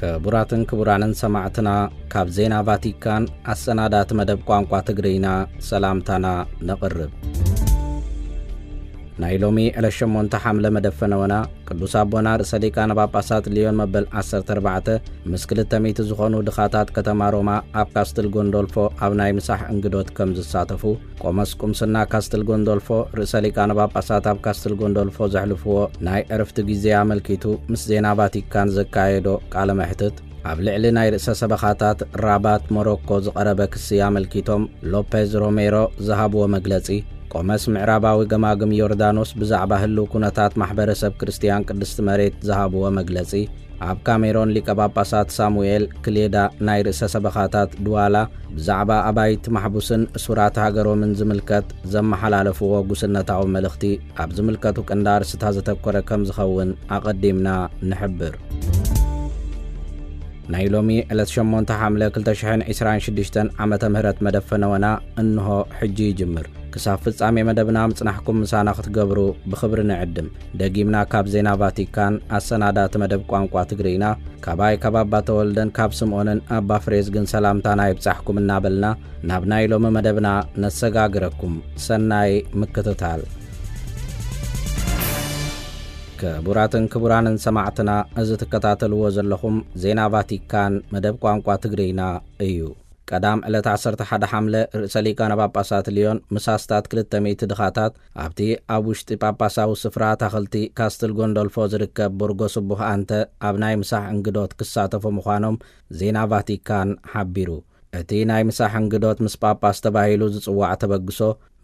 ክቡራትን ክቡራንን ሰማዕትና፣ ካብ ዜና ቫቲካን ኣሰናዳእቲ መደብ ቋንቋ ትግርይና ሰላምታና ነቕርብ። ናይ ሎሚ ዕለት ሸሞንተ ሓምለ መደብ ፈነወና፣ ቅዱስ ኣቦና ርእሰ ሊቃነ ጳጳሳት ሊዮን መበል ዓሰርተ ኣርባዕተ ምስ ክልተ ሚእቲ ዝኾኑ ድኻታት ከተማ ሮማ ኣብ ካስትል ጎንዶልፎ ኣብ ናይ ምሳሕ እንግዶት ከም ዝሳተፉ፣ ቆመስ ቁምስና ካስትል ጎንዶልፎ ርእሰ ሊቃነ ጳጳሳት ኣብ ካስትል ጎንዶልፎ ዘሕልፍዎ ናይ ዕርፍቲ ግዜ ኣመልኪቱ ምስ ዜና ቫቲካን ዘካየዶ ቃለ መሕትት፣ ኣብ ልዕሊ ናይ ርእሰ ሰበኻታት ራባት ሞሮኮ ዝቐረበ ክሲ ኣመልኪቶም ሎፔዝ ሮሜሮ ዝሃብዎ መግለጺ፣ ቆመስ ምዕራባዊ ገማግም ዮርዳኖስ ብዛዕባ ህልው ኩነታት ማሕበረሰብ ክርስትያን ቅድስቲ መሬት ዝሃብዎ መግለጺ፣ ኣብ ካሜሮን ሊቀ ጳጳሳት ሳሙኤል ክሌዳ ናይ ርእሰ ሰበኻታት ድዋላ ብዛዕባ ኣባይቲ ማሕቡስን እሱራት ሃገሮምን ዝምልከት ዘመሓላለፍዎ ጉስነታዊ መልእኽቲ ኣብ ዝምልከቱ ቀንዲ ኣርእስታት ዘተኮረ ከም ዝኸውን ኣቐዲምና ንሕብር። ናይ ሎሚ ዕለት ሸሞንተ ሓምለ ክልተ ሽሕን ዕስራን ሽዱሽተን ዓመተ ምህረት መደብ ፈነወና እንሆ ሕጂ ይጅምር። ክሳብ ፍጻሜ መደብና ምጽናሕኩም ምሳና ክትገብሩ ብኽብሪ ንዕድም። ደጊምና ካብ ዜና ቫቲካን ኣሰናዳእቲ መደብ ቋንቋ ትግርይና፣ ካባይ ካብ ኣባ ተወልደን ካብ ስምዖንን ኣባ ፍሬዝግን ሰላምታና ይብጻሕኩም እናበልና፣ ናብ ናይ ሎሚ መደብና ነሰጋግረኩም። ሰናይ ምክትታል። ክቡራትን ክቡራንን ሰማዕትና፣ እዚ ትከታተልዎ ዘለኹም ዜና ቫቲካን መደብ ቋንቋ ትግርይና እዩ። ቀዳም ዕለት ዓሰርተ ሓደ ሓምለ ርእሰ ሊቃነ ጳጳሳት ሊዮን ምስ ኣስታት ክልተ ሚእቲ ድኻታት ኣብቲ ኣብ ውሽጢ ጳጳሳዊ ስፍራ ኣታኽልቲ ካስትል ጎንዶልፎ ዝርከብ ቦርጎ ስቡህ ኣንተ ኣብ ናይ ምሳሕ እንግዶት ክሳተፉ ምዃኖም ዜና ቫቲካን ሓቢሩ። እቲ ናይ ምሳሕ እንግዶት ምስ ጳጳስ ተባሂሉ ዝጽዋዕ ተበግሶ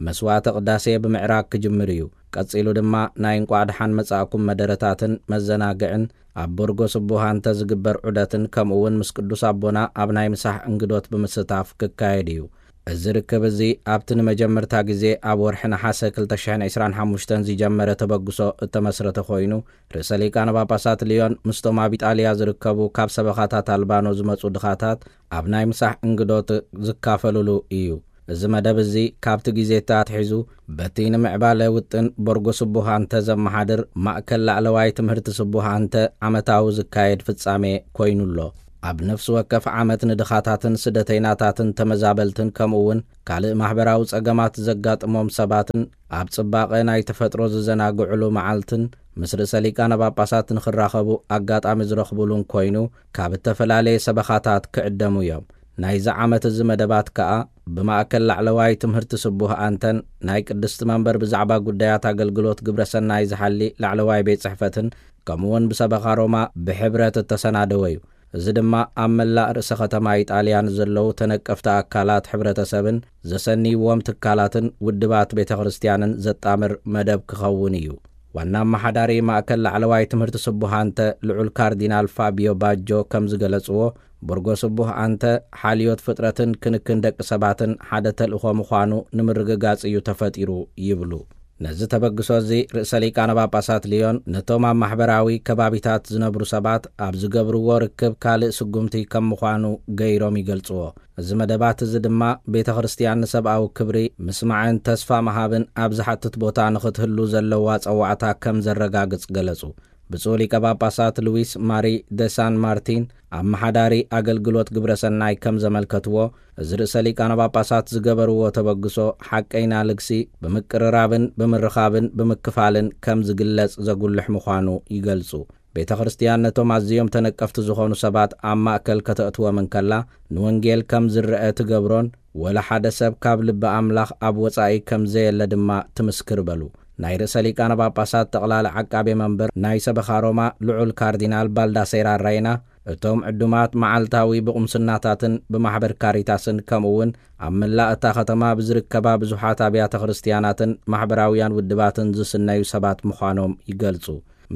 መስዋዕተ ቅዳሴ ብምዕራግ ክጅምር እዩ። ቀጺሉ ድማ ናይ እንቋዕ ደሓን መጻእኩም መደረታትን መዘናግዕን ኣብ ቦርጎ ስቡህ ኣንተ ዝግበር ዑደትን ከምኡ እውን ምስ ቅዱስ ኣቦና ኣብ ናይ ምሳሕ እንግዶት ብምስታፍ ክካየድ እዩ። እዚ ርክብ እዚ ኣብቲ ንመጀመርታ ግዜ ኣብ ወርሒ ነሓሰ ክልተ ሽሕን ዕስራን ሓሙሽተን ዝጀመረ ተበግሶ እተመስረተ ኮይኑ፣ ርእሰ ሊቃነ ጳጳሳት ሊዮን ምስቶም ኣብ ኢጣልያ ዝርከቡ ካብ ሰበኻታት ኣልባኖ ዝመጹ ድኻታት ኣብ ናይ ምሳሕ እንግዶት ዝካፈልሉ እዩ። እዚ መደብ እዚ ካብቲ ግዜ ኣትሒዙ በቲ ንምዕባለ ውጥን ቦርጎ ስቡህ ኣንተ ዘመሓድር ማእከል ላዕለዋይ ትምህርቲ ስቡህ ኣንተ ዓመታዊ ዝካየድ ፍጻሜ ኮይኑ ኣሎ። ኣብ ነፍሲ ወከፍ ዓመት ንድኻታትን ስደተይናታትን ተመዛበልትን ከምኡ እውን ካልእ ማሕበራዊ ጸገማት ዘጋጥሞም ሰባትን ኣብ ጽባቐ ናይ ተፈጥሮ ዝዘናግዕሉ መዓልትን ምስ ርእሰ ሊቃነ ጳጳሳት ንኽራኸቡ ኣጋጣሚ ዝረኽቡሉን ኮይኑ ካብ እተፈላለየ ሰበኻታት ክዕደሙ እዮም። ናይዚ ዓመት እዚ መደባት ከኣ ብማእከል ላዕለዋይ ትምህርቲ ስቡህ ኣንተን ናይ ቅድስቲ መንበር ብዛዕባ ጉዳያት ኣገልግሎት ግብረ ሰናይ ዝሓሊ ላዕለዋይ ቤት ጽሕፈትን ከምኡውን ብሰበኻ ሮማ ብሕብረት እተሰናደወ እዩ። እዚ ድማ ኣብ መላእ ርእሰ ከተማ ኢጣልያ ንዘለዉ ተነቀፍቲ ኣካላት ሕብረተሰብን ዘሰንይዎም ትካላትን ውድባት ቤተ ክርስቲያንን ዘጣምር መደብ ክኸውን እዩ። ዋና ኣመሓዳሪ ማእከል ላዕለዋይ ትምህርቲ ስቡህ ኣንተ ልዑል ካርዲናል ፋቢዮ ባጆ ከም ዝገለጽዎ፣ ቦርጎ ስቡህ ኣንተ ሓልዮት ፍጥረትን ክንክን ደቂ ሰባትን ሓደ ተልእኾ ምዃኑ ንምርግጋጽ እዩ ተፈጢሩ ይብሉ። ነዚ ተበግሶ እዚ ርእሰ ሊቃነ ጳጳሳት ሊዮን ነቶም ኣብ ማሕበራዊ ከባቢታት ዝነብሩ ሰባት ኣብ ዝገብርዎ ርክብ ካልእ ስጉምቲ ከም ምዃኑ ገይሮም ይገልጽዎ። እዚ መደባት እዚ ድማ ቤተ ክርስቲያን ንሰብኣዊ ክብሪ ምስማዕን ተስፋ ምሃብን ኣብ ዝሓትት ቦታ ንኽትህሉ ዘለዋ ጸዋዕታ ከም ዘረጋግጽ ገለጹ። ብፁዕ ሊቀ ጳጳሳት ሉዊስ ማሪ ደ ሳን ማርቲን ኣመሓዳሪ ኣገልግሎት ግብረ ሰናይ ከም ዘመልከትዎ፣ እዚ ርእሰ ሊቃነ ጳጳሳት ዝገበርዎ ተበግሶ ሓቀይና ልግሲ ብምቅርራብን ብምርኻብን ብምክፋልን ከም ዝግለጽ ዘጉልሕ ምዃኑ ይገልጹ። ቤተ ክርስቲያን ነቶም ኣዝዮም ተነቀፍቲ ዝኾኑ ሰባት ኣብ ማእከል ከተእትዎም እንከላ፣ ንወንጌል ከም ዝረአ ትገብሮን ወላ ሓደ ሰብ ካብ ልቢ ኣምላኽ ኣብ ወጻኢ ከም ዘየለ ድማ ትምስክር በሉ። ናይ ርእሰ ሊቃነ ጳጳሳት ጠቕላሊ ዓቃቤ መንበር ናይ ሰበኻ ሮማ ልዑል ካርዲናል ባልዳሴራ ራይና፣ እቶም ዕዱማት መዓልታዊ ብቑምስናታትን ብማሕበር ካሪታስን ከምኡ እውን ኣብ መላእ እታ ከተማ ብዝርከባ ብዙሓት ኣብያተ ክርስቲያናትን ማሕበራውያን ውድባትን ዝስነዩ ሰባት ምዃኖም ይገልጹ።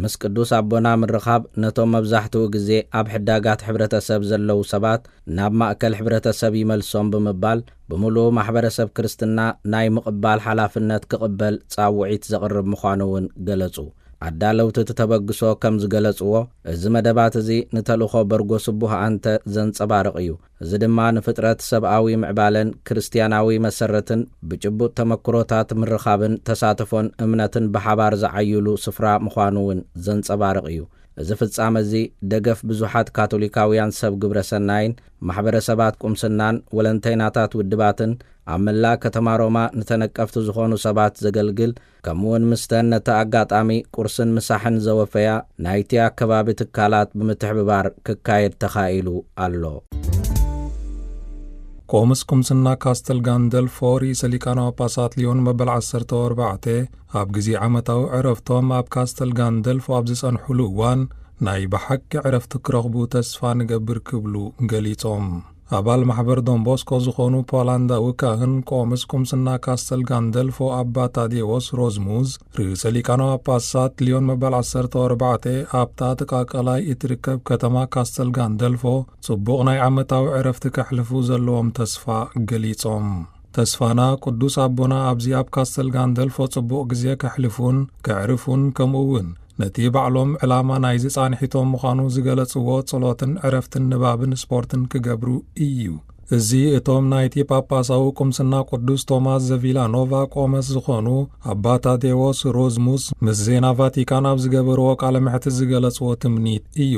ምስ ቅዱስ ኣቦና ምርኻብ ነቶም መብዛሕትኡ ግዜ ኣብ ሕዳጋት ሕብረተሰብ ዘለዉ ሰባት ናብ ማእከል ሕብረተሰብ ይመልሶም ብምባል፣ ብምሉኡ ማሕበረሰብ ክርስትና ናይ ምቕባል ሓላፍነት ክቕበል ጻውዒት ዘቕርብ ምዃኑ እውን ገለጹ። ኣዳለውቲ እቲ ተበግሶ ከም ዝገለጽዎ፣ እዚ መደባት እዚ ንተልእኾ በርጎ ስቡህ ኣንተ ዘንጸባርቕ እዩ። እዚ ድማ ንፍጥረት ሰብኣዊ ምዕባለን ክርስትያናዊ መሰረትን ብጭቡጥ ተመክሮታት ምርኻብን ተሳትፎን እምነትን ብሓባር ዝዓይሉ ስፍራ ምዃኑ እውን ዘንጸባርቕ እዩ። እዚ ፍጻመ እዚ ደገፍ ብዙሓት ካቶሊካውያን ሰብ ግብረ ሰናይን ማሕበረሰባት ቁምስናን ወለንተይናታት ውድባትን ኣብ መላእ ከተማ ሮማ ንተነቀፍቲ ዝኾኑ ሰባት ዘገልግል፣ ከምኡውን ምስተን ነቲ ኣጋጣሚ ቁርስን ምሳሕን ዘወፈያ ናይቲ ኣከባቢ ትካላት ብምትሕብባር ክካየድ ተኻኢሉ ኣሎ። ቆምስ ቁምስና ካስተል ጋንደልፎ ርእሰ ሊቃነ ጳጳሳት ሊዮን መበል ዓሰርተ ኣርባዕተ ኣብ ግዜ ዓመታዊ ዕረፍቶም ኣብ ካስተል ጋንደልፎ ኣብ ዝጸንሑሉ እዋን፣ ናይ ብሓቂ ዕረፍቲ ክረኽቡ ተስፋ ንገብር ክብሉ ገሊጾም። ኣባል ማሕበር ዶንቦስኮ ዝኾኑ ፖላንዳዊ ካህን ቆምስ ቁምስና ካስተል ጋንደልፎ ኣባ ታዴዎስ ሮዝሙዝ፣ ርእሰ ሊቃነ ጳጳሳት ሊዮን መበል ዓሰርተ ኣርባዕተ ኣብታ ጥቃ ቀላይ እትርከብ ከተማ ካስተል ጋንደልፎ ጽቡቕ ናይ ዓመታዊ ዕረፍቲ ከሕልፉ ዘለዎም ተስፋ ገሊጾም። ተስፋና ቅዱስ ኣቦና ኣብዚ ኣብ ካስተል ጋንደልፎ ጽቡቕ ግዜ ከሕልፉን ከዕርፉን፣ ከምኡ እውን ነቲ ባዕሎም ዕላማ ናይዚ ጻንሒቶም ምዃኑ ዝገለጽዎ ጸሎትን ዕረፍትን ንባብን ስፖርትን ክገብሩ እዩ። እዚ እቶም ናይቲ ጳጳሳዊ ቁምስና ቅዱስ ቶማስ ዘቪላኖቫ ቆመስ ዝኾኑ ኣባ ታዴዎስ ሮዝሙስ ምስ ዜና ቫቲካን ኣብ ዝገበርዎ ቃለ መሕትት ዝገለጽዎ ትምኒት እዩ።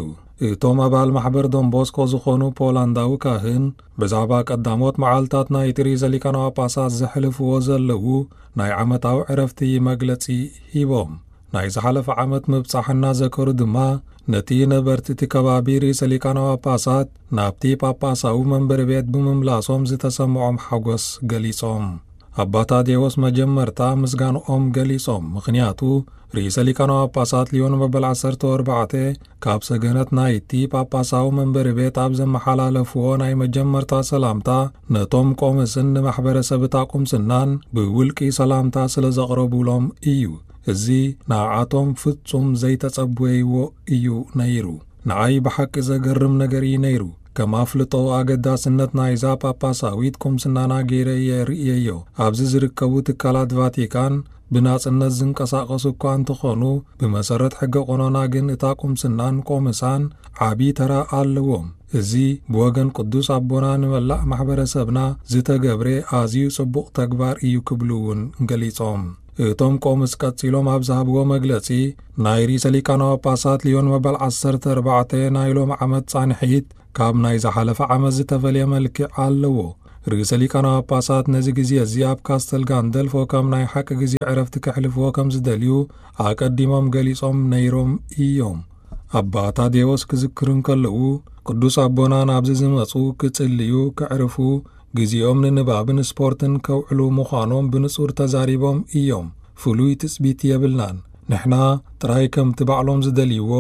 እቶም ኣባል ማሕበር ዶንቦስኮ ዝኾኑ ፖላንዳዊ ካህን ብዛዕባ ቀዳሞት መዓልታት ናይቲ ርእሰ ሊቃነ ጳጳሳት ዘሕልፍዎ ዘለዉ ናይ ዓመታዊ ዕረፍቲ መግለጺ ሂቦም። ናይ ዝሓለፈ ዓመት ምብጻሕ እናዘከሩ ድማ፣ ነቲ ነበርቲ እቲ ከባቢ ርእሰ ሊቃነ ጳጳሳት ናብቲ ጳጳሳዊ መንበሪ ቤት ብምምላሶም ዝተሰምዖም ሓጎስ ገሊጾም። ኣባ ታዴዎስ መጀመርታ ምስጋንኦም ገሊጾም፣ ምኽንያቱ ርእሰ ሊቃነ ጳጳሳት ሊዮን መበል ዓሰርተ ኣርባዕተ ካብ ሰገነት ናይቲ ጳጳሳዊ መንበሪ ቤት ኣብ ዘመሓላለፍዎ ናይ መጀመርታ ሰላምታ፣ ነቶም ቆምስን ንማሕበረሰብ እታ ቁምስናን ብውልቂ ሰላምታ ስለ ዘቕረቡሎም እዩ። እዚ ንዓኣቶም ፍጹም ዘይተጸበይዎ እዩ ነይሩ። ንዓይ ብሓቂ ዘገርም ነገር እዩ ነይሩ። ከም ኣፍልጦ ኣገዳስነት ናይዛ ጳጳሳዊት ቁምስናና ገይረ እየ ርእየዮ። ኣብዚ ዝርከቡ ትካላት ቫቲካን ብናጽነት ዝንቀሳቐሱ እኳ እንተኾኑ፣ ብመሰረት ሕገ ቆኖና ግን እታ ቁምስናን ቆምሳን ዓቢ ተራ ኣለዎም። እዚ ብወገን ቅዱስ ኣቦና ንመላእ ማሕበረሰብና ዝተገብረ ኣዝዩ ጽቡቕ ተግባር እዩ ክብሉ እውን ገሊጾም። እቶም ቆምስ ቀጺሎም ኣብ ዝሃብዎ መግለጺ፣ ናይ ርእሰ ሊቃነ ጳጳሳት ሊዮን መበል ዓሰርተ ኣርባዕተ ናይ ሎም ዓመት ጻንሒት ካብ ናይ ዝሓለፈ ዓመት ዝተፈልየ መልክዕ ኣለዎ። ርእሰ ሊቃነ ጳጳሳት ነዚ ግዜ እዚ ኣብ ካስተል ጋንደልፎ ከም ናይ ሓቂ ግዜ ዕረፍቲ ከሕልፍዎ ከም ዝደልዩ ኣቀዲሞም ገሊጾም ነይሮም እዮም። ኣባ ታዴዎስ ክዝክሩ እንከለዉ፣ ቅዱስ ኣቦና ናብዚ ዝመጹ ክጽልዩ፣ ከዕርፉ፣ ግዜኦም ንንባብን ስፖርትን ከውዕሉ ምዃኖም ብንጹር ተዛሪቦም እዮም። ፍሉይ ትጽቢት የብልናን። ንሕና ጥራይ ከምቲ ባዕሎም ዝደልይዎ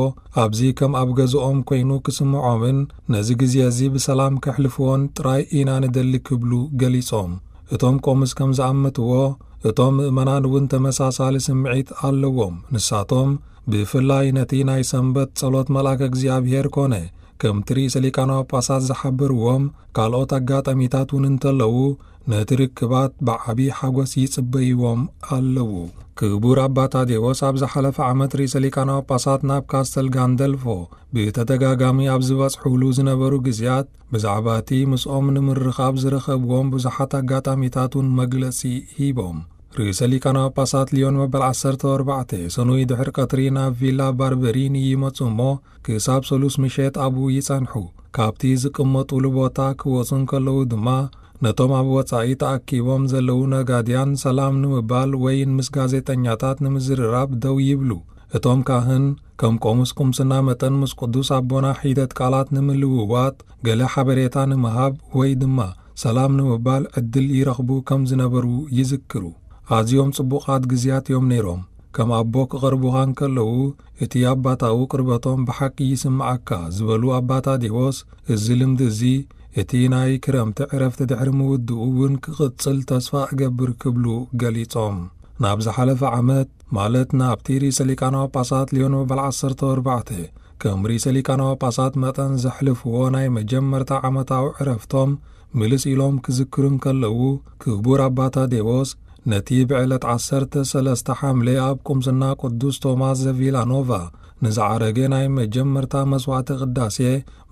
ኣብዚ ከም ኣብ ገዝኦም ኮይኑ ክስምዖምን ነዚ ግዜ እዚ ብሰላም ከሕልፍዎን ጥራይ ኢና ንደሊ ክብሉ ገሊጾም። እቶም ቆምስ ከም ዝኣመትዎ፣ እቶም ምእመናን እውን ተመሳሳሊ ስምዒት ኣለዎም። ንሳቶም ብፍላይ ነቲ ናይ ሰንበት ጸሎት መልኣከ እግዚኣብሔር ኮነ ከምቲ ርእሰ ሊቃነ ጳጳሳት ዝሓበርዎም ካልኦት ኣጋጣሚታት እውን እንተለዉ፣ ነቲ ርክባት ብዓቢ ሓጎስ ይጽበይዎም ኣለዉ። ክቡር ኣባ ታዴዎስ ኣብ ዝሓለፈ ዓመት ርእሰ ሊቃነ ጳጳሳት ናብ ካስተል ጋንደልፎ ብተደጋጋሚ ኣብ ዝበጽሑሉ ዝነበሩ ግዜያት፣ ብዛዕባ እቲ ምስኦም ንምርኻብ ዝረኸብዎም ብዙሓት ኣጋጣሚታት እውን መግለጺ ሂቦም። ርእሰ ሊቃነ ጳጳሳት ሊዮን መበል ዓሰርተ ኣርባዕተ ሰኑይ ድሕሪ ቀትሪ ናብ ቪላ ባርበሪኒ ይመጹ እሞ፣ ክሳብ ሰሉስ ምሸት ኣብኡ ይጸንሑ። ካብቲ ዝቅመጡሉ ቦታ ክወጹ እንከለዉ ድማ፣ ነቶም ኣብ ወጻኢ ተኣኪቦም ዘለዉ ነጋድያን ሰላም ንምባል ወይን ምስ ጋዜጠኛታት ንምዝርራብ ደው ይብሉ። እቶም ካህን ከም ቆሙስ ቁምስና መጠን ምስ ቅዱስ ኣቦና ሒደት ቃላት ንምልውዋጥ፣ ገለ ሓበሬታ ንምሃብ ወይ ድማ ሰላም ንምባል ዕድል ይረኽቡ ከም ዝነበሩ ይዝክሩ። ኣዝዮም ጽቡቓት ግዜያት እዮም ነይሮም። ከም ኣቦ ክቐርቡኻ እንከለዉ፣ እቲ ኣባታዊ ቅርበቶም ብሓቂ ይስምዓካ ዝበሉ ኣባ ታዴዎስ፣ እዚ ልምዲ እዚ እቲ ናይ ክረምቲ ዕረፍቲ ድሕሪ ምውድኡ እውን ክቕጽል ተስፋ እገብር ክብሉ ገሊጾም። ናብ ዝሓለፈ ዓመት፣ ማለት ናብቲ ርእሰ ሊቃነ ጳጳሳት ሊዮን መበል ዓሰርተ ኣርባዕተ ከም ርእሰ ሊቃነ ጳጳሳት መጠን ዘሕልፍዎ ናይ መጀመርታ ዓመታዊ ዕረፍቶም ምልስ ኢሎም ክዝክሩ እንከለዉ፣ ክቡር ኣባ ታዴዎስ ነቲ ብዕለት ዓሰርተ ሰለስተ ሓምለ ኣብ ቁምስና ቅዱስ ቶማስ ዘቪላኖቫ ንዝዓረገ ናይ መጀመርታ መስዋዕተ ቅዳሴ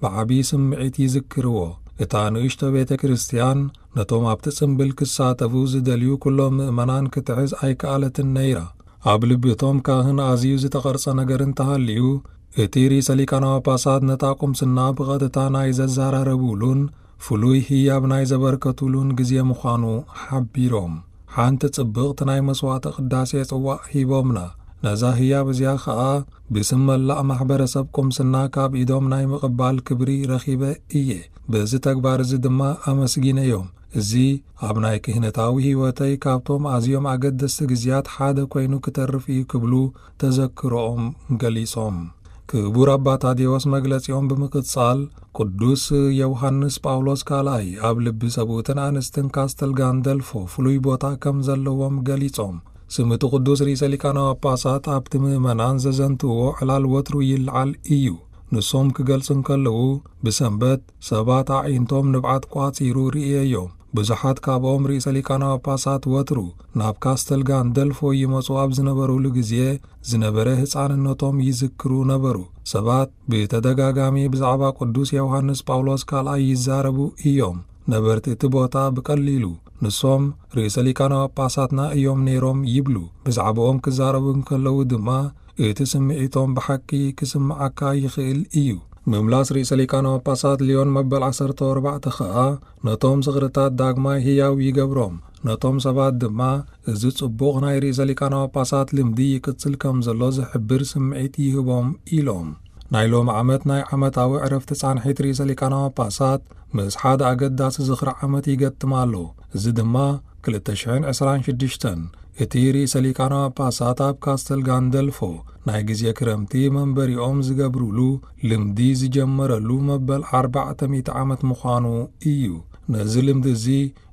ብዓቢ ስምዒት ይዝክርዎ። እታ ንእሽቶ ቤተ ክርስቲያን ነቶም ኣብቲ ጽምብል ክሳተፉ ዝደልዩ ኩሎም ምእመናን ክትሕዝ ኣይከኣለትን ነይራ። ኣብ ልቢ እቶም ካህን ኣዝዩ ዝተቐርጸ ነገር እንተሃልዩ፣ እቲ ርእሰ ሊቃነ ጳጳሳት ነታ ቁምስና ብቐጥታ ናይ ዘዘራረቡሉን ፍሉይ ህያብ ናይ ዘበርከቱሉን ግዜ ምዃኑ ሓቢሮም። ሓንቲ ጽብቕቲ ናይ መስዋዕተ ቅዳሴ ጽዋእ ሂቦምና። ነዛ ህያብ እዚኣ ኸኣ ብስም መላእ ማሕበረሰብ ቁምስና ካብ ኢዶም ናይ ምቕባል ክብሪ ረኺበ እየ። በዚ ተግባር እዚ ድማ ኣመስጊነዮም። እዚ ኣብ ናይ ክህነታዊ ህይወተይ ካብቶም ኣዝዮም ኣገደስቲ ግዜያት ሓደ ኮይኑ ክተርፍ እዩ ክብሉ ተዘክሮኦም ገሊጾም። ክቡር ኣባ ታዴዎስ መግለጺኦም ብምቕጻል፣ ቅዱስ ዮሃንስ ጳውሎስ ካልኣይ ኣብ ልቢ ሰብኡትን ኣንስትን ካስተል ጋንደልፎ ፍሉይ ቦታ ከም ዘለዎም ገሊጾም፣ ስም እቲ ቅዱስ ርእሰ ሊቃነ ጳጳሳት ኣብቲ ምእመናን ዘዘንትዎ ዕላል ወትሩ ይለዓል እዩ። ንሶም ክገልጹ እንከለዉ፣ ብሰንበት ሰባት ኣዒንቶም ንብዓት ቋጺሩ ርእየዮም። ብዙሓት ካብኦም ርእሰ ሊቃነ ጳጳሳት ወትሩ ናብ ካስተል ጋንደልፎ ይመጹ ኣብ ዝነበሩሉ ግዜ ዝነበረ ህጻንነቶም ይዝክሩ ነበሩ። ሰባት ብተደጋጋሚ ብዛዕባ ቅዱስ ዮሃንስ ጳውሎስ ካልኣይ ይዛረቡ እዮም። ነበርቲ እቲ ቦታ ብቐሊሉ ንሶም ርእሰ ሊቃነ ጳጳሳትና እዮም ነይሮም ይብሉ። ብዛዕባኦም ክዛረቡ እንከለዉ ድማ እቲ ስምዒቶም ብሓቂ ክስምዓካ ይኽእል እዩ። ምምላስ ርእሰ ሊቃነ ጳጳሳት ሊዮን መበል ዓሰርተ ኣርባዕተ ኸኣ ነቶም ዝኽርታት ዳግማይ ህያው ይገብሮም፣ ነቶም ሰባት ድማ እዚ ጽቡቕ ናይ ርእሰ ሊቃነ ጳጳሳት ልምዲ ይቅጽል ከም ዘሎ ዝሕብር ስምዒት ይህቦም ኢሎም። ናይ ሎሚ ዓመት ናይ ዓመታዊ ዕረፍቲ ጻንሒት ርእሰ ሊቃነ ጳጳሳት ምስ ሓደ ኣገዳሲ ዝኽሪ ዓመት ይገጥም ኣሎ። እዚ ድማ ክልተ ሽሕን ዕስራን ሽዱሽተን እቲ ርእሰ ሊቃነ ጳጳሳት ኣብ ካስተል ጋንደልፎ ናይ ግዜ ክረምቲ መንበሪኦም ዝገብሩሉ ልምዲ ዝጀመረሉ መበል ኣርባዕተ ሚእቲ ዓመት ምዃኑ እዩ። ነዚ ልምዲ እዚ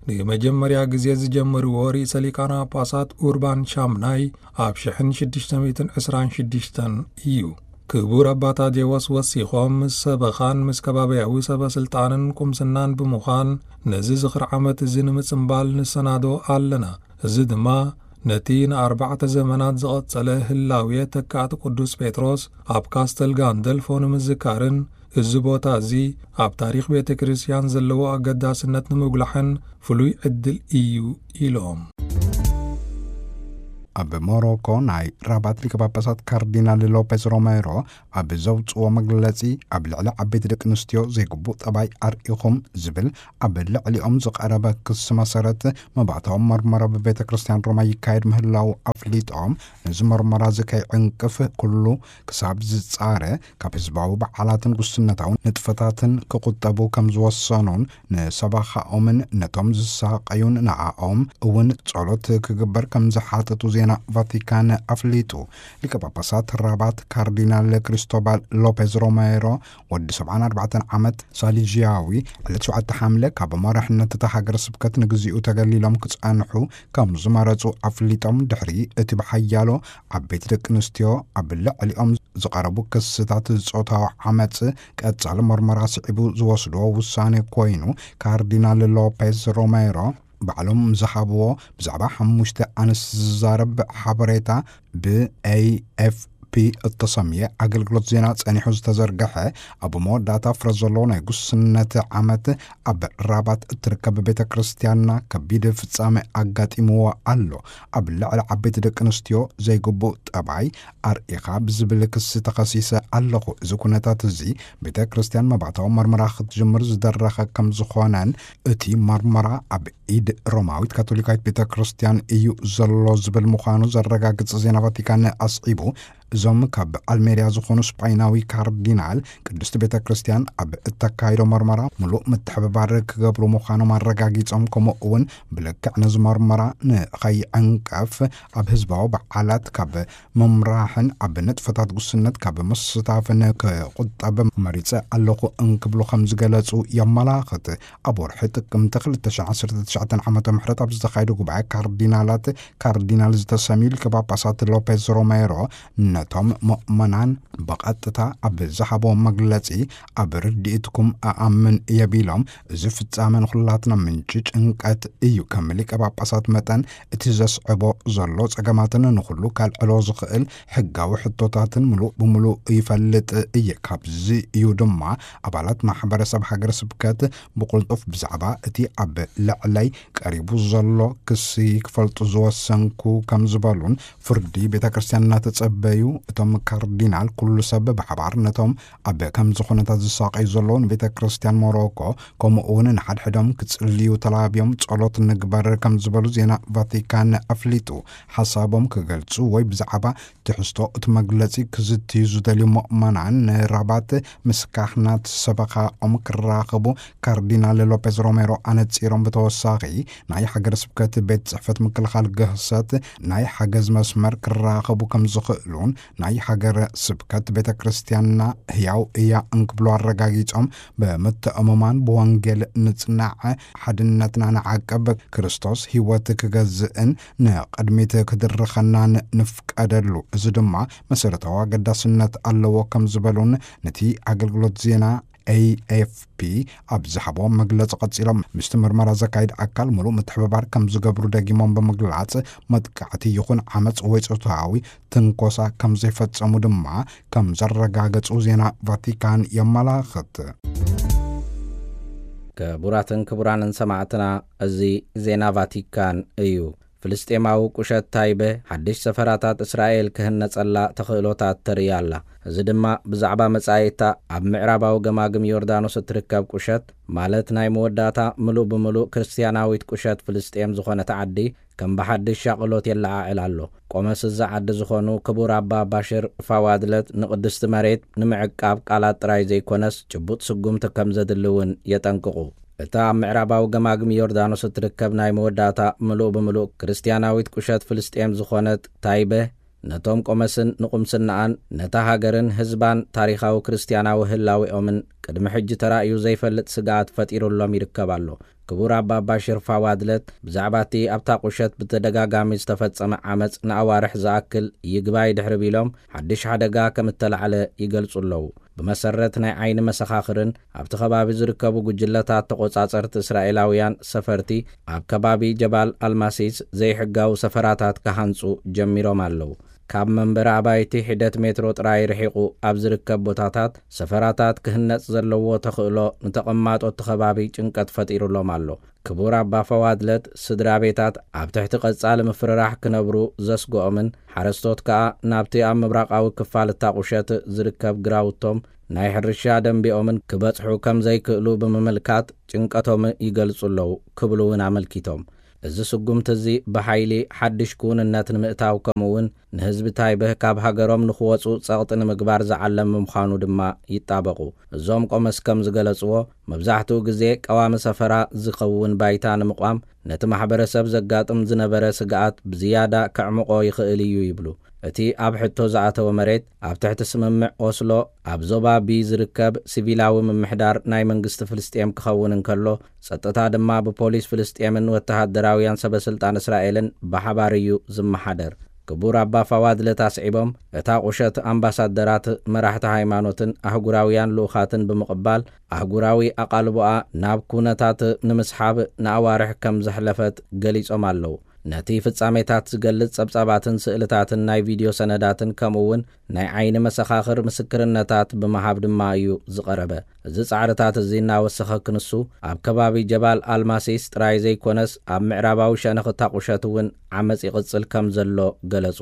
ንመጀመርያ ግዜ ዝጀመርዎ ርእሰ ሊቃነ ጳጳሳት ኡርባን ሻምናይ ኣብ ሽሕን ሽዱሽተ ሚእትን ዕስራን ሽዱሽተን እዩ። ክቡር ኣባ ታዴዎስ ወሲኾም፣ ምስ ሰበኻን ምስ ከባቢያዊ ሰበ ስልጣንን ቁምስናን ብምዃን ነዚ ዝኽሪ ዓመት እዚ ንምጽምባል ንሰናዶ ኣለና። እዚ ድማ ነቲ ንኣርባዕተ ዘመናት ዝቐጸለ ህላዌ ተካእቲ ቅዱስ ጴጥሮስ ኣብ ካስተል ጋንደልፎ ንምዝካርን እዚ ቦታ እዚ ኣብ ታሪኽ ቤተ ክርስቲያን ዘለዎ ኣገዳስነት ንምጉላሕን ፍሉይ ዕድል እዩ ኢሎም። ኣብ ሞሮኮ ናይ ራባት ሊቀ ጳጳሳት ካርዲናል ሎፔዝ ሮሜሮ ኣብ ዘውፅዎ መግለፂ፣ ኣብ ልዕሊ ዓበይቲ ደቂ ኣንስትዮ ዘይግቡእ ጠባይ ኣርኢኹም ዝብል ኣብ ልዕሊኦም ዝቐረበ ክሲ መሰረት መባእታዊ መርመራ ብቤተ ክርስቲያን ሮማ ይካየድ ምህላው ኣፍሊጦም፣ ነዚ መርመራ እዚ ከይዕንቅፍ ኩሉ ክሳብ ዝጻረ ካብ ህዝባዊ በዓላትን ጉስነታዊ ንጥፈታትን ክቑጠቡ ከም ዝወሰኑን፣ ንሰባኻኦምን ነቶም ዝሳቐዩን ንዓኦም እውን ጸሎት ክግበር ከም ዝሓተቱ ዜና ቫቲካን ኣፍሊጡ። ሊቀ ጳጳሳት ራባት ካርዲናል ክሪስቶባል ሎፔዝ ሮሜሮ፣ ወዲ ሰብዓን ኣርባዕተን ዓመት ሳሊዥያዊ፣ ዕለት ሸውዓተ ሓምለ ካብ መራሕነት እታ ሃገረ ስብከት ንግዚኡ ተገሊሎም ክጸንሑ ከም ዝመረጹ ኣፍሊጦም፣ ድሕሪ እቲ ብሓያሎ ዓበይቲ ደቂ ኣንስትዮ ኣብ ልዕሊኦም ዝቐረቡ ክስታት ጾታዊ ዓመጽ ቀጻሊ መርመራ ስዒቡ ዝወስድዎ ውሳኔ ኮይኑ፣ ካርዲናል ሎፔዝ ሮሜሮ ባዕሎም ዝሃብዎ ብዛዕባ ሓሙሽተ ኣንስቲ ዝዛረብ ሓበሬታ ብኤ ኤፍ ፒ እተሰምየ ኣገልግሎት ዜና ጸኒሑ ዝተዘርግሐ፣ ኣብ መወዳእታ ፍረ ዘለዎ ናይ ጉስነት ዓመት ኣብ ራባት እትርከብ ቤተ ክርስቲያንና ከቢድ ፍጻሜ ኣጋጢምዎ ኣሎ። ኣብ ልዕሊ ዓበይቲ ደቂ ኣንስትዮ ዘይግቡእ ጠባይ ኣርኢኻ ብዝብል ክሲ ተኸሲሰ ኣለኹ። እዚ ኩነታት እዚ ቤተ ክርስቲያን መባእታዊ መርመራ ክትጅምር ዝደረኸ ከም ዝኾነን፣ እቲ መርመራ ኣብ ኢድ ሮማዊት ካቶሊካዊት ቤተ ክርስቲያን እዩ ዘሎ ዝብል ምዃኑ ዘረጋግጽ ዜና ቫቲካን ኣስዒቡ፣ እዞም ካብ ኣልሜሪያ ዝኾኑ ስጳይናዊ ካርዲናል፣ ቅድስቲ ቤተ ክርስቲያን ኣብ እተካይዶ መርመራ ምሉእ ምትሕብባር ክገብሩ ምዃኖም ኣረጋጊጾም፣ ከምኡ እውን ብልክዕ ነዚ መርመራ ንኸይዕንቀፍ ኣብ ህዝባዊ በዓላት ካብ ምምራሕን ኣብ ንጥፈታት ጉስነት ካብ ምስታፍን ክቑጠብ መሪጸ ኣለኹ እንክብሉ ከም ዝገለጹ የመላኽት። ኣብ ወርሒ ጥቅምቲ ክልተ ሽሕን ዓሰርተ ትሽዓተን ዓመተ ምህረት ኣብ ዝተኻየደ ጉባኤ ካርዲናላት፣ ካርዲናል ዝተሰምዩ ሊቀ ጳጳሳት ሎፔዝ ሮሜሮ፣ ነቶም ምእመናን ብቐጥታ ኣብ ዝሃቦ መግለጺ፣ ኣብ ርድኢትኩም እኣምን እየ ቢሎም፣ እዚ ፍጻመ ንኹላትና ምንጪ ጭንቀት እዩ። ከም ሊቀ ጳጳሳት መጠን፣ እቲ ዘስዕቦ ዘሎ ጸገማትን ንኹሉ ከልዕሎ ዝኽእል ሕጋዊ ሕቶታትን ምሉእ ብምሉእ ይፈልጥ እየ። ካብዚ እዩ ድማ ኣባላት ማሕበረሰብ ሃገረ ስብከት ብቕልጡፍ ብዛዕባ እቲ ኣብ ልዕለይ ቀሪቡ ዘሎ ክሲ ክፈልጡ ዝወሰንኩ ከም ዝበሉን፣ ፍርዲ ቤተ ክርስቲያን እናተጸበዩ እቶም ካርዲናል፣ ኩሉ ሰብ ብሓባር ነቶም ኣብ ከምዚ ኩነታት ዝሳቀዩ ዘለዉ ንቤተ ክርስቲያን ሞሮኮ፣ ከምኡ እውን ንሓድሕዶም ክጽልዩ ተላብዮም ጸሎት ንግበር ከም ዝበሉ ዜና ቫቲካን ኣፍሊጡ። ሓሳቦም ክገልጹ ወይ ብዛዕባ ትሕዝቶ እቲ መግለጺ ክዝትዩ ዝደልዩ ምእመናን ንራባት ምስ ካህናት ሰበኻኦም ክራኸቡ ካርዲናል ሎፔዝ ሮሜሮ ኣነጺሮም። ብተወሳኺ ናይ ሃገረ ስብከት ቤት ጽሕፈት ምክልኻል ግህሰት ናይ ሓገዝ መስመር ክራኸቡ ከም ዝኽእሉን ናይ ሃገረ ስብከት ቤተ ክርስቲያንና ህያው እያ እንክብሉ ኣረጋጊጾም፣ ብምትእምማን ብወንጌል ንጽናዕ፣ ሓድነትና ንዓቅብ፣ ክርስቶስ ህይወት ክገዝእን ንቕድሚት ክድርኸናን ንፍቀደሉ። እዚ ድማ መሰረታዊ ኣገዳስነት ኣለዎ ከም ዝበሉን ነቲ ኣገልግሎት ዜና ኤ ኤፍ ፒ ኣብ ዝሃቦ መግለጺ ቀጺሎም፣ ምስቲ ምርመራ ዘካይድ ኣካል ምሉእ ምትሕብባር ከም ዝገብሩ ደጊሞም ብምግላጽ፣ መጥቃዕቲ ይኹን ዓመጽ ወይ ጾታዊ ትንኮሳ ከም ዘይፈጸሙ ድማ ከም ዘረጋገጹ ዜና ቫቲካን የመላኽት። ክቡራትን ክቡራንን ሰማዕትና፣ እዚ ዜና ቫቲካን እዩ። ፍልስጤማዊ ቁሸት ታይበ ሓድሽ ሰፈራታት እስራኤል ክህነጸላ ተኽእሎታት ተርኢ ኣላ። እዚ ድማ ብዛዕባ መጻኢታ ኣብ ምዕራባዊ ገማግም ዮርዳኖስ እትርከብ ቁሸት፣ ማለት ናይ መወዳእታ ምሉእ ብምሉእ ክርስትያናዊት ቁሸት ፍልስጤም ዝኾነት ዓዲ፣ ከም ብሓድሽ ሻቕሎት የለዓዕል ኣሎ። ቆመስ እዚ ዓዲ ዝኾኑ ክቡር ኣባ ባሽር ፋዋድለት፣ ንቅድስቲ መሬት ንምዕቃብ ቃላት ጥራይ ዘይኮነስ ጭቡጥ ስጉምቲ ከም ዘድሊ እውን የጠንቅቑ። እታ ኣብ ምዕራባዊ ገማግም ዮርዳኖስ እትርከብ ናይ መወዳእታ ምሉእ ብምሉእ ክርስትያናዊት ቁሸት ፍልስጤም ዝኾነት ታይበ፣ ነቶም ቆመስን ንቁምስናኣን፣ ነታ ሃገርን ህዝባን፣ ታሪኻዊ ክርስትያናዊ ህላዌኦምን ቅድሚ ሕጂ ተራእዩ ዘይፈልጥ ስግኣት ፈጢሩሎም ይርከብ ኣሎ። ክቡር ኣባ ባሽር ፋዋድለት ብዛዕባ እቲ ኣብታ ቁሸት ብተደጋጋሚ ዝተፈጸመ ዓመጽ ንኣዋርሕ ዝኣክል ይግባይ ድሕሪ ቢሎም፣ ሓድሽ ሓደጋ ከም እተላዕለ ይገልጹ ኣለዉ። ብመሰረት ናይ ዓይኒ መሰኻኽርን ኣብቲ ከባቢ ዝርከቡ ጉጅለታት ተቖጻጸርቲ እስራኤላውያን፣ ሰፈርቲ ኣብ ከባቢ ጀባል ኣልማሲስ ዘይሕጋዊ ሰፈራታት ክሃንጹ ጀሚሮም ኣለዉ። ካብ መንበሪ ኣባይቲ ሒደት ሜትሮ ጥራይ ርሒቑ ኣብ ዝርከብ ቦታታት ሰፈራታት ክህነጽ ዘለዎ ተኽእሎ ንተቐማጦ እቲ ከባቢ ጭንቀት ፈጢሩሎም ኣሎ። ክቡር ኣባ ፈዋድለት፣ ስድራ ቤታት ኣብ ትሕቲ ቀጻሊ ምፍርራሕ ክነብሩ ዘስግኦምን ሓረስቶት ከኣ ናብቲ ኣብ ምብራቓዊ ክፋል እታ ቁሸት ዝርከብ ግራውቶም ናይ ሕርሻ ደንቢኦምን ክበጽሑ ከም ዘይክእሉ ብምምልካት ጭንቀቶም ይገልጹ ኣለዉ ክብሉ እውን ኣመልኪቶም። እዚ ስጉምቲ እዚ ብሓይሊ ሓድሽ ክውንነት ንምእታው፣ ከምኡ እውን ንህዝቢ ታይበህ ካብ ሃገሮም ንኽወጹ ጸቕጢ ንምግባር ዝዓለም ምዃኑ ድማ ይጣበቑ። እዞም ቆመስ ከም ዝገለጽዎ፣ መብዛሕትኡ ግዜ ቀዋሚ ሰፈራ ዝኸውን ባይታ ንምቋም ነቲ ማሕበረሰብ ዘጋጥም ዝነበረ ስግኣት ብዝያዳ ከዕምቖ ይኽእል እዩ ይብሉ። እቲ ኣብ ሕቶ ዝኣተወ መሬት ኣብ ትሕቲ ስምምዕ ኦስሎ ኣብ ዞባ ቢ ዝርከብ ሲቪላዊ ምምሕዳር ናይ መንግስቲ ፍልስጤም ክኸውን እንከሎ፣ ጸጥታ ድማ ብፖሊስ ፍልስጤምን ወተሃደራውያን ሰበስልጣን እስራኤልን ብሓባር እዩ ዝመሓደር። ክቡር ኣባ ፋዋድለት ኣስዒቦም፣ እታ ቁሸት ኣምባሳደራት፣ መራሕቲ ሃይማኖትን ኣህጉራውያን ልኡኻትን ብምቕባል፣ ኣህጉራዊ ኣቓልቦኣ ናብ ኩነታት ንምስሓብ ንኣዋርሕ ከም ዘሕለፈት ገሊጾም ኣለዉ። ነቲ ፍጻሜታት ዝገልጽ ጸብጻባትን ስእልታትን ናይ ቪድዮ ሰነዳትን፣ ከምኡ እውን ናይ ዓይኒ መሰኻኽር ምስክርነታት ብምሃብ ድማ እዩ ዝቐረበ። እዚ ጻዕርታት እዚ እናወሰኸ ክንሱ፣ ኣብ ከባቢ ጀባል ኣልማሲስ ጥራይ ዘይኮነስ፣ ኣብ ምዕራባዊ ሸነኽ እታ ቁሸት እውን ዓመጽ ይቕጽል ከም ዘሎ ገለጹ።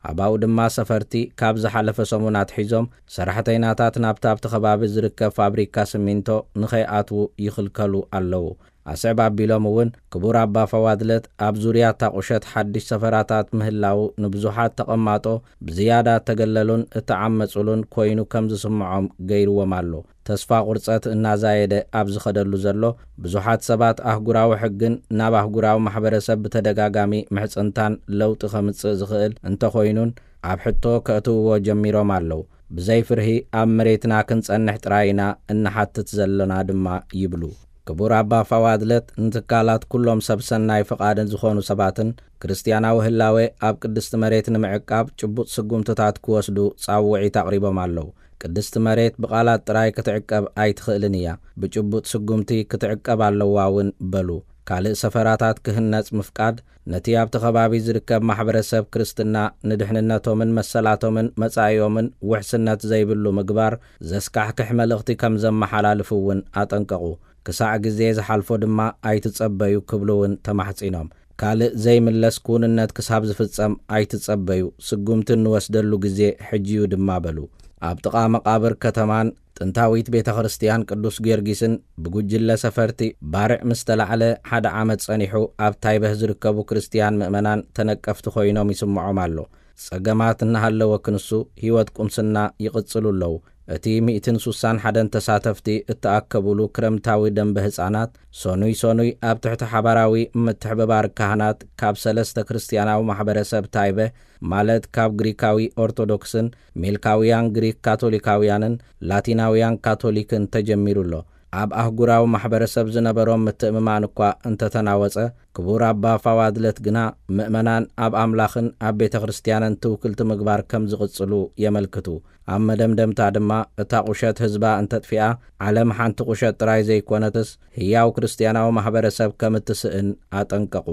ኣባኡ ድማ ሰፈርቲ ካብ ዝሓለፈ ሰሙን ኣትሒዞም ሰራሕተይናታት ናብቲ ኣብቲ ከባቢ ዝርከብ ፋብሪካ ሲሚንቶ ንኸይኣትዉ ይኽልከሉ ኣለዉ። ኣስዕብ ኣቢሎም እውን ክቡር ኣባ ፈዋድለት ኣብ ዙርያ እታ ቁሸት ሓድሽ ሰፈራታት ምህላዉ ንብዙሓት ተቐማጦ ብዝያዳ እተገለሉን እተዓመጹሉን ኮይኑ ከም ዝስምዖም ገይርዎም ኣሎ። ተስፋ ቁርጸት እናዛየደ ኣብ ዝኸደሉ ዘሎ፣ ብዙሓት ሰባት ኣህጉራዊ ሕግን ናብ ኣህጉራዊ ማሕበረሰብ ብተደጋጋሚ ምሕጽንታን ለውጢ ከምጽእ ዝኽእል እንተኾይኑን ኣብ ሕቶ ከእትውዎ ጀሚሮም ኣለዉ። ብዘይ ፍርሂ ኣብ መሬትና ክንጸንሕ ጥራይ ኢና እንሓትት ዘለና ድማ ይብሉ። ክቡር ኣባ ፋዋድለት ንትካላት ኩሎም ሰብ ሰናይ ፍቓድን ዝኾኑ ሰባትን ክርስትያናዊ ህላዌ ኣብ ቅድስቲ መሬት ንምዕቃብ ጭቡጥ ስጉምትታት ክወስዱ ጻውዒት ኣቕሪቦም ኣለዉ። ቅድስቲ መሬት ብቓላት ጥራይ ክትዕቀብ ኣይትኽእልን እያ፣ ብጭቡጥ ስጉምቲ ክትዕቀብ ኣለዋ እውን በሉ። ካልእ ሰፈራታት ክህነጽ ምፍቃድ፣ ነቲ ኣብቲ ከባቢ ዝርከብ ማሕበረሰብ ክርስትና ንድሕንነቶምን መሰላቶምን መጻኢኦምን ውሕስነት ዘይብሉ ምግባር ዘስካሕክሕ መልእኽቲ ከም ዘመሓላልፉ እውን ኣጠንቀቑ። ክሳዕ ግዜ ዝሓልፎ ድማ ኣይትጸበዩ ክብሉ እውን ተማሕጺኖም። ካልእ ዘይምለስ ክውንነት ክሳብ ዝፍጸም ኣይትጸበዩ፣ ስጉምቲ እንወስደሉ ግዜ ሕጂ እዩ ድማ በሉ። ኣብ ጥቓ መቓብር ከተማን ጥንታዊት ቤተ ክርስቲያን ቅዱስ ጊዮርጊስን ብጉጅለ ሰፈርቲ ባርዕ ምስ ተላዕለ ሓደ ዓመት ጸኒሑ ኣብ ታይበህ ዝርከቡ ክርስቲያን ምእመናን ተነቀፍቲ ኮይኖም ይስምዖም ኣሎ። ጸገማት እናሃለወ ክንሱ ህይወት ቁምስና ይቕጽሉ ኣለዉ። እቲ ሚእትን ሱሳን ሓደን ተሳተፍቲ እተኣከቡሉ ክረምታዊ ደንበ ህጻናት ሰኑይ ሰኑይ ኣብ ትሕቲ ሓባራዊ ምትሕብባር ካህናት ካብ ሰለስተ ክርስቲያናዊ ማሕበረሰብ ታይበህ ማለት ካብ ግሪካዊ ኦርቶዶክስን ሜልካውያን ግሪክ ካቶሊካውያንን ላቲናውያን ካቶሊክን ተጀሚሩ ኣሎ። ኣብ ኣህጉራዊ ማሕበረሰብ ዝነበሮም ምትእምማን እኳ እንተተናወጸ፣ ክቡር ኣባ ፋዋድለት ግና ምእመናን ኣብ ኣምላኽን ኣብ ቤተ ክርስቲያንን ትውክልቲ ምግባር ከም ዝቕጽሉ የመልክቱ። ኣብ መደምደምታ ድማ እታ ቁሸት ህዝባ እንተጥፊኣ፣ ዓለም ሓንቲ ቁሸት ጥራይ ዘይኮነትስ ህያው ክርስቲያናዊ ማሕበረሰብ ከም እትስእን ኣጠንቀቑ።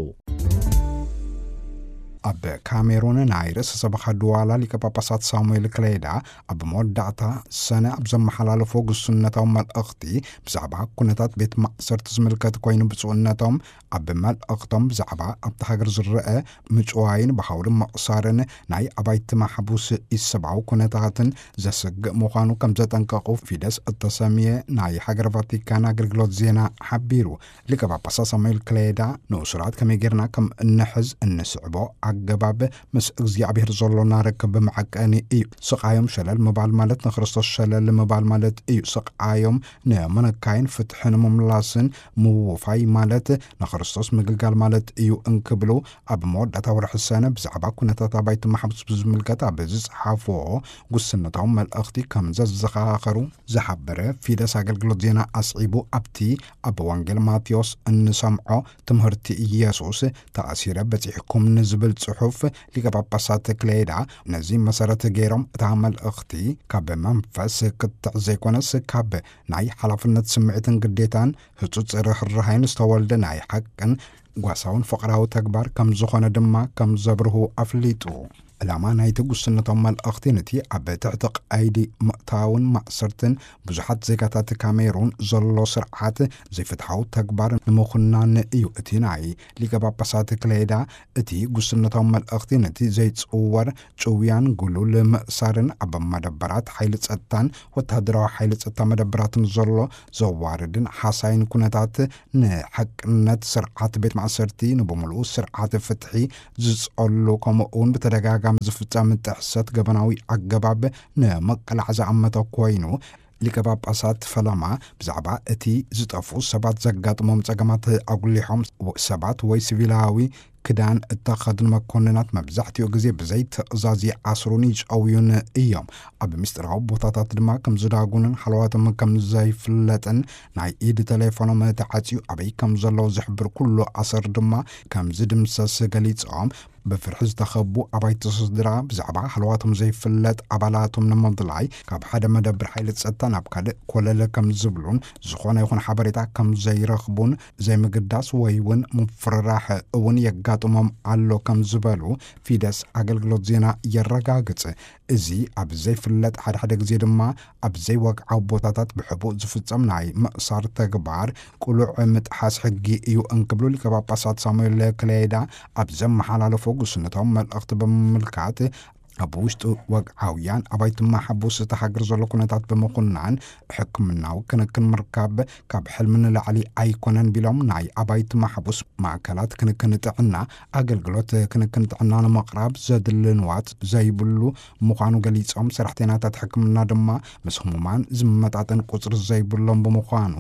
ኣብ ካሜሩን ናይ ርእሰ ሰበኻ ድዋላ ሊቀ ጳጳሳት ሳሙኤል ክሌዳ ኣብ መወዳእታ ሰነ ኣብ ዘመሓላለፎ ግሱነታዊ መልእኽቲ ብዛዕባ ኩነታት ቤት ማእሰርቲ ዝምልከት ኮይኑ፣ ብፁዕነቶም ኣብ መልእኽቶም ብዛዕባ ኣብቲ ሃገር ዝረአ ምጭዋይን ብሃውሪ ምቕሳርን ናይ ኣባይቲ ማሕቡስ ኢሰብኣዊ ኩነታትን ዘስግእ ምዃኑ ከም ዘጠንቀቑ ፊደስ እተሰምየ ናይ ሃገር ቫቲካን ኣገልግሎት ዜና ሓቢሩ። ሊቀ ጳጳሳት ሳሙኤል ክሌዳ ንእሱራት ከመይ ጌርና ከም እንሕዝ እንስዕቦ ኣገባብ ምስ እግዚኣብሔር ዘሎና ርክብ መዐቀኒ እዩ። ስቓዮም ሸለል ምባል ማለት ንክርስቶስ ሸለል ምባል ማለት እዩ። ስቓዮም ንምንካይን ፍትሒ ንምምላስን ምውፋይ ማለት ንክርስቶስ ምግልጋል ማለት እዩ እንክብሉ ኣብ መወዳእታ ወርሒ ሰነ ብዛዕባ ኩነታት ኣባይቲ ማሕቡስ ብዝምልከት ኣብ ዝጸሓፍዎ ጉስነታዊ መልእኽቲ ከም ዘዘኻኸሩ ዝሓበረ ፊደስ ኣገልግሎት ዜና ኣስዒቡ፣ ኣብቲ ኣብ ወንጌል ማቴዎስ እንሰምዖ ትምህርቲ ኢየሱስ፣ "ተኣሲረ በጺሕኩም" ንዝብል ጽሑፍ ሊቀ ጳጳሳት ክሌዳ ነዚ መሰረት ገይሮም፣ እታ መልእኽቲ ካብ መንፈስ ክትዕ ዘይኮነስ ካብ ናይ ሓላፍነት ስምዒትን ግዴታን ህጹጽ ርህራሄን ዝተወልደ ናይ ሓቅን ጓሳውን ፍቕራዊ ተግባር ከም ዝኾነ ድማ ከም ዘብርሁ ኣፍሊጡ። ዕላማ ናይቲ ጉስነታዊ መልእኽቲ ነቲ ኣብ ትሕቲ ቀይዲ ምእታውን ማእሰርትን ብዙሓት ዜጋታት ካሜሩን ዘሎ ስርዓት ዘይፍትሓዊ ተግባር ንምኹናን እዩ። እቲ ናይ ሊቀ ጳጳሳት ክሌዳ እቲ ጉስነታዊ መልእኽቲ ነቲ ዘይጽወር ጭውያን ግሉል ምእሳርን ኣብ መደበራት ሓይሊ ጸጥታን ወተሃደራዊ ሓይሊ ጸጥታ መደበራትን ዘሎ ዘዋርድን ሓሳይን ኩነታት፣ ንሓቅነት ስርዓት ቤት ማእሰርቲ፣ ንብምሉኡ ስርዓት ፍትሒ ዝጸሉ፣ ከምኡ እውን ብተደጋጋሚ ዝፍጸም ጥሕሰት ገበናዊ ኣገባብ ንምቅላዕ ዝኣመተ ኮይኑ፣ ሊቀ ጳጳሳት ፈለማ ብዛዕባ እቲ ዝጠፍኡ ሰባት ዘጋጥሞም ጸገማት ኣጉሊሖም፣ ሰባት ወይ ሲቪላዊ ክዳን እተኸድኑ መኮንናት መብዛሕትኡ ግዜ ብዘይ ትእዛዝ ይኣስሩን ይጨውዩን እዮም። ኣብ ምስጢራዊ ቦታታት ድማ ከም ዝዳጉንን ሃለዋቶም ከም ዘይፍለጥን፣ ናይ ኢድ ተሌፎኖም ተዓጽዩ ኣበይ ከም ዘለዉ ዝሕብር ኩሉ ኣሰር ድማ ከም ዝድምሰስ ገሊጾም፣ ብፍርሒ ዝተኸቡ ኣባይቲ ስድራ ብዛዕባ ሃለዋቶም ዘይፍለጥ ኣባላቶም ንምድላይ ካብ ሓደ መደብር ሓይሊ ጸጥታ ናብ ካልእ ኮለል ከም ዝብሉን፣ ዝኾነ ይኹን ሓበሬታ ከም ዘይረኽቡን፣ ዘይምግዳስ ወይ እውን ምፍርራሕ እውን የጋጥሞም ኣሎ ከም ዝበሉ ፊደስ ኣገልግሎት ዜና የረጋግጽ። እዚ ኣብ ዘይፍለጥ፣ ሓደ ሓደ ግዜ ድማ ኣብ ዘይወግዓዊ ቦታታት ብሕቡእ ዝፍጸም ናይ ምእሳር ተግባር ቅሉዕ ምጥሓስ ሕጊ እዩ እንክብሉ ሊቀ ጳጳሳት ሳሙኤል ክሌዳ ኣብ ዘመሓላለፎ ጉስነታዊ መልእኽቲ ብምምልካት፣ ኣብ ውሽጢ ወግዓውያን ኣባይቲ ማሕቡስ እቲ ሃገር ዘሎ ኩነታት ብምኹናን፣ ሕክምናዊ ክንክን ምርካብ ካብ ሕልሚ ንላዕሊ ኣይኮነን ቢሎም፣ ናይ ኣባይቲ ማሕቡስ ማእከላት ክንክን ጥዕና ኣገልግሎት ክንክን ጥዕና ንምቕራብ ዘድሊ ንዋት ዘይብሉ ምዃኑ ገሊጾም፣ ሰራሕተኛታት ሕክምና ድማ ምስ ህሙማን ዝመጣጠን ቁጽሪ ዘይብሎም ብምዃኑ፣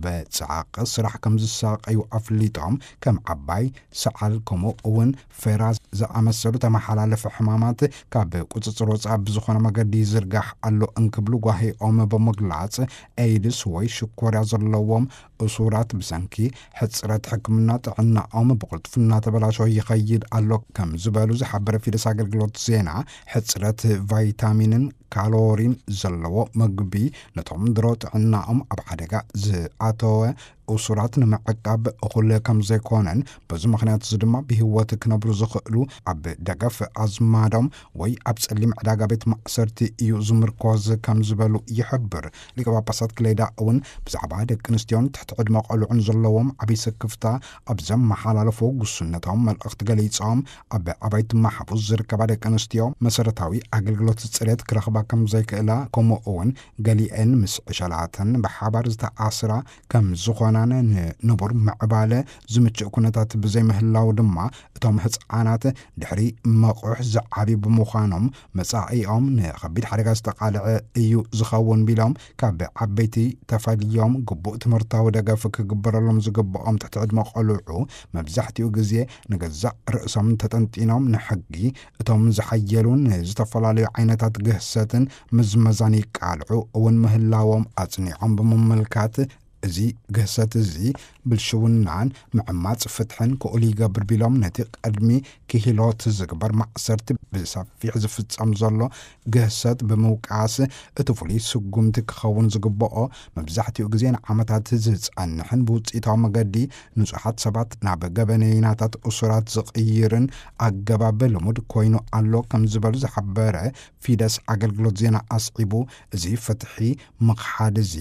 ብጻዕቂ ስራሕ ከም ዝሳቐዩ ኣፍሊጦም፣ ከም ዓባይ ሰዓል ከምኡ እውን ፌራ ዝኣመሰሉ ተመሓላለፊ ሕማማት ካብ ቁጽጽር ወጻኢ ብዝኾነ መገዲ ይዝርጋሕ ኣሎ እንክብሉ ጓሂኦም ብምግላጽ፣ ኤይድስ ወይ ሽኮርያ ዘለዎም እሱራት ብሰንኪ ሕጽረት ሕክምና ጥዕናኦም ብቕልጡፍ እናተበላሸወ ይኸይድ ኣሎ ከም ዝበሉ ዝሓበረ ፊደስ ኣገልግሎት ዜና፣ ሕጽረት ቫይታሚንን ካሎሪን ዘለዎ ምግቢ ነቶም ድሮ ጥዕናኦም ኣብ ሓደጋ ዝኣተወ እሱራት ንምዕቃብ እኹል ከም ዘይኮነን፣ በዚ ምኽንያት እዚ ድማ ብህይወት ክነብሩ ዝኽእሉ ኣብ ደገፍ ኣዝማዶም ወይ ኣብ ጸሊም ዕዳጋ ቤት ማእሰርቲ እዩ ዝምርኮዝ ከም ዝበሉ ይሕብር። ሊቀ ጳጳሳት ክሌዳ እውን ብዛዕባ ደቂ ኣንስትዮን ትሕቲ ዕድመ ቆልዑን ዘለዎም ዓብዪ ስክፍታ ኣብ ዘመሓላለፎ ጉስነታዊ መልእኽቲ ገሊጾም፣ ኣብ ኣባይቲ ማሕቡስ ዝርከባ ደቂ ኣንስትዮ መሰረታዊ ኣገልግሎት ጽሬት ክረኽባ ከም ዘይክእላ፣ ከምኡ እውን ገሊአን ምስ ዕሸላተን ብሓባር ዝተኣስራ ከም ዝኾናን፣ ንንቡር ምዕባለ ዝምችእ ኩነታት ብዘይምህላው ድማ እቶም ህፃናት ድሕሪ መቑሕ ዝዓብዩ ብምዃኖም መጻኢኦም ንኸቢድ ሓደጋ ዝተቓልዐ እዩ ዝኸውን ቢሎም፣ ካብ ዓበይቲ ተፈልዮም ግቡእ ትምህርታዊ ደገፍ ክግበረሎም ዝግብኦም ትሕቲ ዕድመ ቆልዑ መብዛሕትኡ ግዜ ንገዛእ ርእሶም ተጠንጢኖም ንሕጊ እቶም ዝሓየሉን ዝተፈላለዩ ዓይነታት ግህሰትን ምዝመዛን ይቃልዑ እውን ምህላዎም ኣጽኒዖም ብምምልካት፣ እዚ ግህሰት እዚ ብልሽውናን ምዕማጽ ፍትሕን ክኡል ይገብር ቢሎም፣ ነቲ ቅድሚ ክሂሎት ዝግበር ማእሰርቲ ብሰፊሕ ዝፍጸም ዘሎ ግህሰት ብምውቃስ፣ እቲ ፍሉይ ስጉምቲ ክኸውን ዝግብኦ መብዛሕትኡ ግዜ ንዓመታት ዝጸንሕን ብውጽኢታዊ መገዲ ንጹሓት ሰባት ናብ ገበነይናታት እሱራት ዝቕይርን ኣገባብ ልሙድ ኮይኑ ኣሎ ከም ዝበሉ ዝሓበረ ፊደስ ኣገልግሎት ዜና ኣስዒቡ፣ እዚ ፍትሒ ምኽሓድ እዚ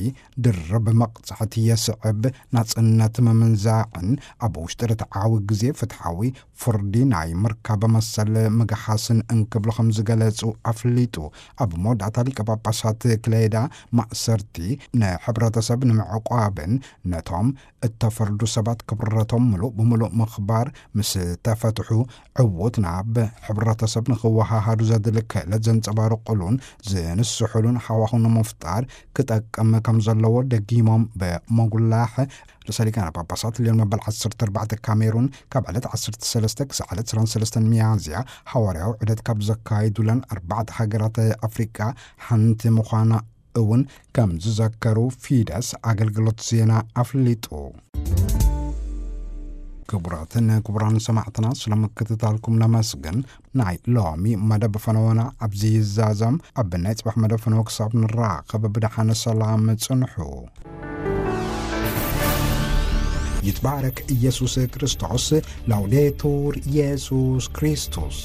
ድርብ መቕጻዕቲ የስዕብ፣ ናጽነት ምምንዛዕን ኣብ ውሽጢ ርትዓዊ ግዜ ፍትሓዊ ፍርዲ ናይ ምርካብ መሰል ምግሓስን እንክብሉ ከም ዝገለጹ ኣፍሊጡ። ኣብ መወዳእታ ሊቀ ጳጳሳት ክሌዳ ማእሰርቲ ንሕብረተሰብ ንምዕቋብን ነቶም እተፈርዱ ሰባት ክብረቶም ምሉእ ብምሉእ ምኽባር ምስ ተፈትሑ ዕዉት ናብ ሕብረተሰብ ንኽወሃሃዱ ዘድሊ ክእለት ዘንጸባርቑሉን ዝንስሑሉን ሃዋሁ ንምፍጣር ክጠቅም ከም ዘለዎ ደጊሞም ብምጉላሕ፣ ርእሰ ሊቃነ ጳጳሳት ሊዮን መበል ዓሰርተ ኣርባዕተ ካሜሩን ካብ ዕለት ዓሰርተ ሰለስተ ክሳዕ ዕለት ዕስራን ሰለስተን ሚያዝያ ሓዋርያዊ ዑደት ካብ ዘካይዱለን ኣርባዕተ ሃገራት ኣፍሪቃ ሓንቲ ምዃና እውን ከም ዝዘከሩ ፊደስ ኣገልግሎት ዜና ኣፍሊጡ። ክቡራትን ክቡራን ሰማዕትና፣ ስለ ምክትታልኩም ነመስግን። ናይ ሎሚ መደብ ፈነወና ኣብዚ ይዛዘም። ኣብ ናይ ጽባሕ መደብ ፈነወ ክሳብ ንራኸብ ብደሓን ሰላም ጽንሑ። ይትባረክ ኢየሱስ ክርስቶስ። ላውዴቱር ኢየሱስ ክርስቶስ።